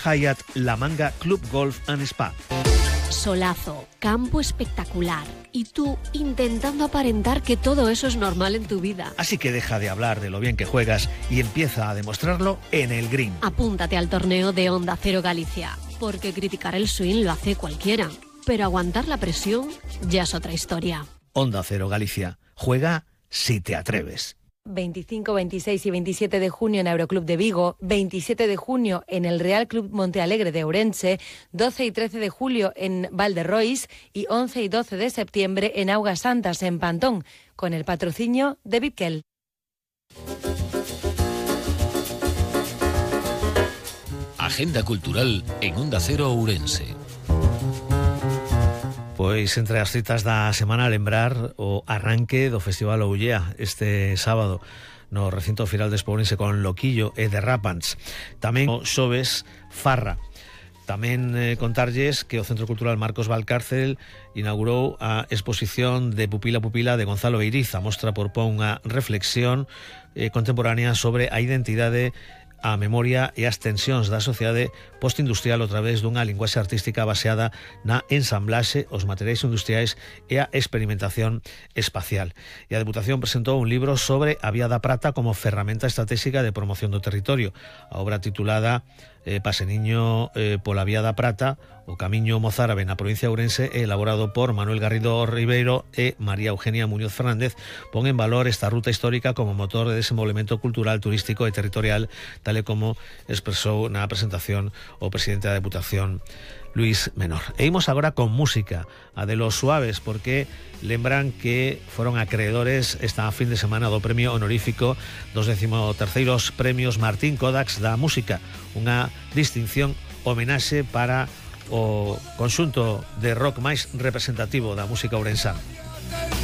Hyatt La Manga Club Golf and Spa. Solazo, campo espectacular y tú intentando aparentar que todo eso es normal en tu vida. Así que deja de hablar de lo bien que juegas y empieza a demostrarlo en el green. Apúntate al torneo de Onda Cero Galicia, porque criticar el swing lo hace cualquiera, pero aguantar la presión ya es otra historia. Onda Cero Galicia, juega si te atreves. 25, 26 y 27 de junio en Aeroclub de Vigo, 27 de junio en el Real Club Montealegre de Ourense, 12 y 13 de julio en Valderrois y 11 y 12 de septiembre en Augas Santas, en Pantón, con el patrocinio de Bipkel. Agenda cultural en Onda Cero Ourense. Pois entre as citas da semana lembrar o arranque do Festival Oullea este sábado no recinto Firal de Espourense con Loquillo e Derrapants. Tamén o xoves Farra. Tamén contarlles que o Centro Cultural Marcos Valcárcel inaugurou a exposición de Pupila Pupila de Gonzalo Eiriza. Mostra propón unha reflexión contemporánea sobre a identidade, a memoria e as tensións da sociedade postindustrial a través dunha linguaxe artística baseada na ensamblaxe, os materiais industriais e a experimentación espacial. E a Deputación presentou un libro sobre a Vía da Prata como ferramenta estratégica de promoción do territorio. A obra titulada Paseniño pola Vía da Prata, o Camiño Mozárabe na provincia de Ourense, elaborado por Manuel Garrido Ribeiro e María Eugenia Muñoz Fernández, pon en valor esta ruta histórica como motor de desenvolvemento cultural, turístico e territorial, tal e como expresou na presentación o presidente da Deputación, Luis Menor. E imos agora con música, a de Los Suaves, porque lembran que foron acreedores esta fin de semana do premio honorífico dos 13º premios Martín Kodaks da música, unha distinción homenaxe para o conxunto de rock máis representativo da música ourensana.